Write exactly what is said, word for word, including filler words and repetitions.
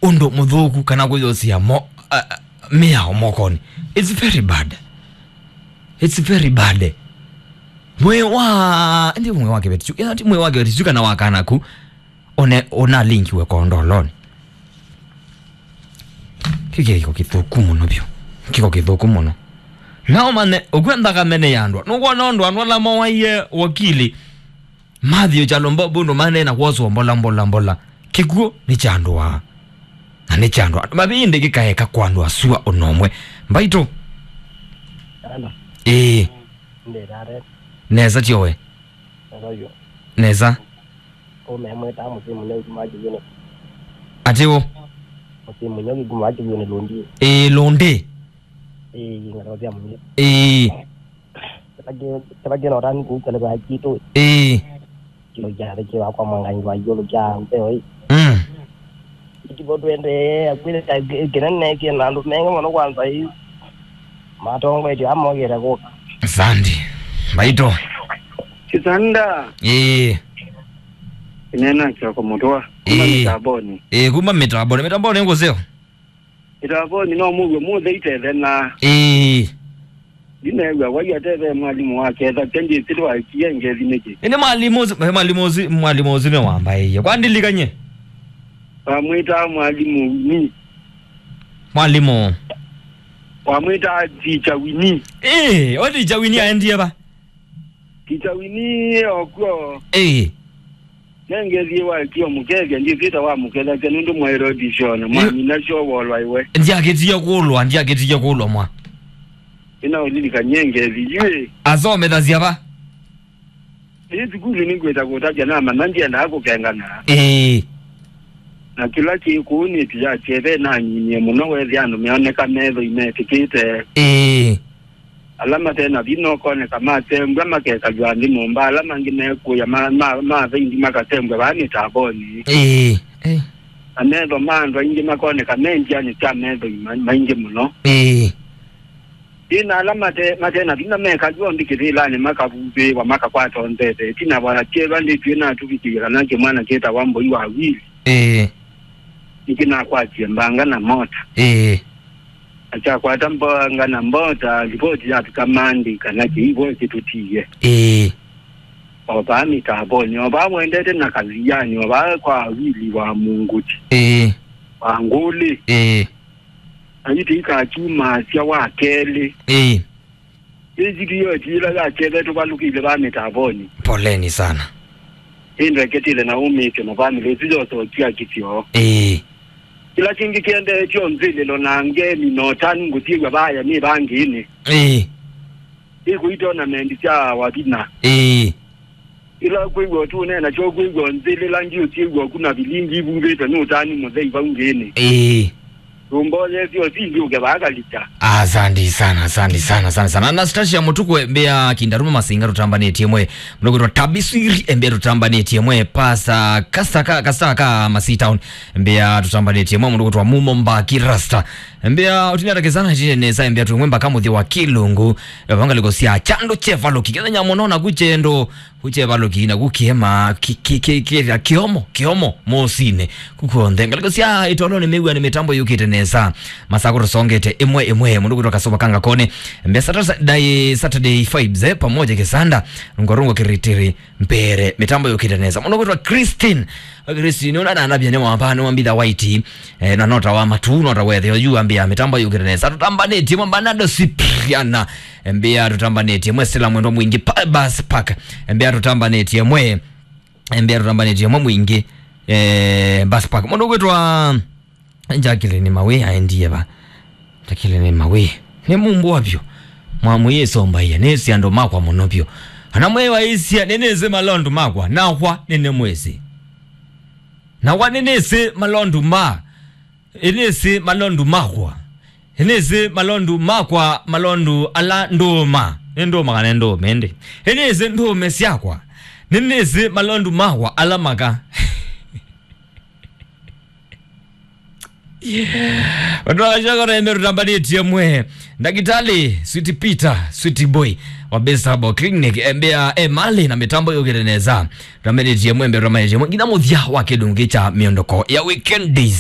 ũndũ mũthũku kana kwĩyosia mo, a, a, mĩao mokonĩ. It's very bad. It's very bad. Mwĩ wa, ndi mwĩ wa kĩveti kyu, ĩla ti mwĩ wa kĩveti kyu kana wa kana ku, one, ũnalinkiwe kondolonĩ. Kĩu kĩko kĩthũku mũno vyũ. Kĩko kĩthũku mũno. Na ũmanye, ũkwenda kamene ya andũ. Nũkwona ũndũ andũ ala mowaie wakili. Matthew Chalombo bundu maneena kwoswa mbola, mbola, mbola. Kĩkw'ũ nĩ kya andũ aa. Na nĩ kya andũ aa. Mavindi kĩkaeka kwa andũ asua ũnomwe. Mbaitũ. Hello. Ĩĩ. Ndĩrare. Nesa tiowe. Hello, yo. Nesa. Ũmemwĩtaa mũsĩ mũnyo kuma kĩvyũnĩ. Atĩ ũ? Mũsĩ mũnyo kuma kĩvyũnĩ Lũndi. Ĩĩ, Lũndi. Ĩĩ, ngatho sya mũnyo. Ĩĩ. Kĩla kĩ-, kĩla kĩna ũtani kũu kĩlĩko ya kitũ. Ĩĩ. Kĩo kya thĩkĩ wakwa mwangangi wa igũlũ kya ntheo ĩ. Mm. Ikivo twendee akwĩlĩka kĩnene kĩna andũ mengĩ mũno kwanza ĩ. Matongoetye amogĩte kũka. Asante. Mbaitũ. Kisanda. Ĩĩ. Inena kyoko mũtwa. Kuma Ĩĩ. Mitamboni. Ĩĩ, kuma mitamboni. Mitamboni ngũseo. Itavoni no mũw'e mũthei tethena. Ĩĩ. Ndinew'a wai ateve mwalimũ wa ketha kya ndĩsĩ ndwaikie ngethi nĩkĩ. Ĩndĩ mwalimũ ũsu, eh, mwalimũ ũsu, mwalimũ ũsu nĩwambaĩie. Kwa ndilikany'e? Wamwĩtaa mwalimũ Winnie. Mwalimũ. Wamwĩtaa teacher Winnie. Ĩĩ, o teacher Winnie aendie va? Teacher Winnie okw'o. Ĩĩ. Nengethie wa kio mũkethya, ndikwĩta wa mũkethasya nũndũ mwaĩle audition, mwamina syo wolwa iwe. Ndiakĩtie kũlwa, ndiakĩtie kũlwa mwa. Ĩna ũlilikany'e ngethi yu ĩ. Asomethasya va? Ĩ sukulu nĩngwĩta kũtavya namanya ndiendaa kũkengana. Ĩĩ. Na kĩla kĩ kũu nĩ ĩtu ya kyeve nanyinye mũno wethĩa andũ meoneka methoi metĩkĩte. Ĩĩ. Ala mate na vinya ũkoneka matembwa makekalw'a nthĩ nyũmba, ala mangĩ mekũya ma, ma, ma vendi makatembwa vaa mĩtambonĩ. Ĩĩ, ĩĩ. Na metho ma andũ aingĩ makoneka me nzĩanĩ sya methoi ma, maingĩ mũno. Ĩĩ. Ĩĩ, na ala mate, mate na vinya mekalw'a nthĩ kĩvĩlanĩ makavuvĩĩwa makakwata nzeve. Ĩtina wa kyeva ndĩtw'ĩ natuvikĩie kana kĩmwana kĩtawa Mboi wa Wili. Ĩĩ. Nĩkĩnakwatie mbanga na mota. Ĩĩ. Na kyakwata mbanga na mbota, livoti yavika Monday kana kĩivo kĩtũtie. Ĩĩ. O vaa mĩtambonĩ, o vaa wendete na kathianĩ, o vaa kwa Wili wa Munguti. Ĩĩ. Wa Ngũlĩ. Ĩĩ. Na yu tĩikakyumasya wa kelĩ. Ĩĩ. Ĩĩ, video ĩla ya kyeve tũvalũkĩile vaa mĩtambonĩ. Poleni sana. Ĩndeketile na umĩtyo na family ĩsu yose ũkia kĩsyo. Ĩĩ. Kĩla kĩngĩ kĩendeetye o nzĩlĩlo na ngemi na ũtanu ngũsyĩw'a vaya nĩ vangĩnĩ. Ĩĩ. Ĩkũi tournament sya wavina. Ĩĩ. Ĩla kwĩw'a ũtũnena kyo kwĩw'a nzĩlĩla ngi ũsyĩw'a ku na vilingi ivuvĩtwe nĩ ũtanu mũthei vau ngĩnĩ. Ĩĩ. Rumboyesyo si ndiuke vaa kalita. Asante sana, asante sana, asante sana. Anastasia Mutukwe, mbea Kindaruma Masinga, tũtambanĩtye mwe. Mũndũ kwĩtwa Tabiswiri, mbea tũtambanĩtye mwe. Pasa Kasaka, Kasaka, Masi Town, mbea tũtambanĩtye mwe. Mũndũ kwĩtwa Mumo Mbaki Rasta, mbea ũtinatake sana, chine nesa, mbea tumwe mbaka mũthĩ wa Kilungu. Vangaliko sya chandu chevaluki. Kethenya mũno na kuchendo. Kuchevalũki na kukĩema ki-, ki-, ki-, kĩthya kĩomo, kĩomo mosinĩ. Kukw'onthe ngalĩko sya ĩtolonĩ mĩw'a nĩ mĩtambo yũkĩte nesa. Masako tũsongete ĩmwe ĩmwe. Mũndũ kwĩtwa Kasova Kanga Kone. Mbea Saturday, Saturday vibes, eh, pamoja Kisanda. Rungo rungo kiritiri mbere. Mĩtambo yũkĩte nesa. Mũndũ kwĩtwa Christine. Christine, ũna nanavya nĩ wamba, nĩ wambitha white. Eh, na nota wa matu, nota wetheo, yu ambia mĩtambo yũkĩte nesa. Tũtambanĩtye mwe Bernardo Cipriana. Mbea tũtambanĩtye mwe Sila Mwendwa Mwingi pa-, Bus Park. Mbea tũtambanĩtye mwe. Mbea tũtambanĩtye mwe Mwingi, eh, Bus Park. Mũndũ kwĩtwa Jacqueline Mawi aendie va? Jacqueline Mawi. Nĩ mumbũ wa vyũ. Mwamũyĩsombaia. Nĩsĩ andũ makwa mũno vyũ. Ana mwe waisya, nĩnĩsĩ malondu makwa. Nakwa nĩnĩmwĩsĩ. Nakwa nĩnĩsĩ malondu ma. Ĩnĩsĩ malondu makwa. Ĩnĩsĩ malondu makwa, malondu ala ndũũma. Nĩ ndũũma kana nĩ ndũũme ĩndĩ? Ĩnĩsĩ ndũũme syakwa. Nĩnĩsĩ malondu makwa ala maka. Vandũ vakashokora eme tũtambanĩtye mwe. Ndakitali, Sweet Peter, Sweet Boy wa Best Herbal Clinic, embea e mali na mĩtambo yũkĩte nesa. Tũtambanĩtye mwe, embea tũtambanĩtye mwe. Nginya mũthya wa kĩlungu kya mĩondoko ya weekend days.